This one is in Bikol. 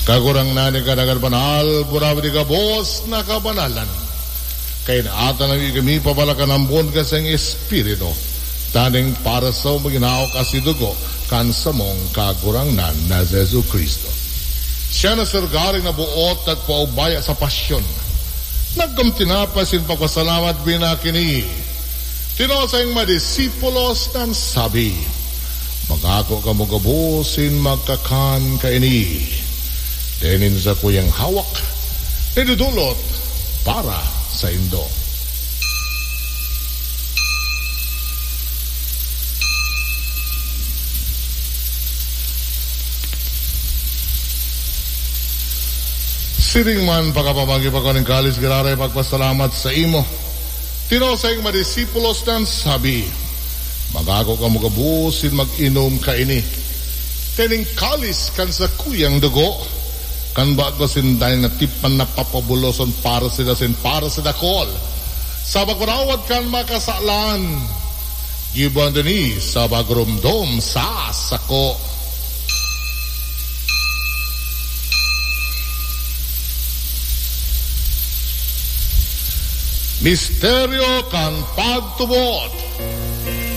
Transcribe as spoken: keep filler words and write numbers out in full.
Kagurangnan, ika dagan banal, burawi di gabos na kabanalan. Kaya naatan na kami papalakan ambon ka sa iyong Espiritu, tanganing para sa maginaw ka si dugo kan samong Kagurangnan na si Jesu-Cristo. Siya na sargaring nabuot at paubaya sa pasyon. Nagkamti na pa sin pagpasalamat, binakini. Tino sa iyong mga disipulos nang sabi, "Magako kamo gabos sin magkakan kaini. Dai nin sakuyang hawak, idudulot para saindo." Siring man, pakapamagi pa ko nin kalis, giraray pagpasalamat sa imo. Tino sa iyong mga disipulos nang sabi, "Magako kamo gabos sin mag-inom kaini. Kaning kalis kan sakuyang dugo, kan bago sinda na tipan na papabuloson para sila sin para sa dakol, sa pagparawad kan mga kasalan. Gibohon ini sa pagromdom sa sako." Misteryo kan pagtubod.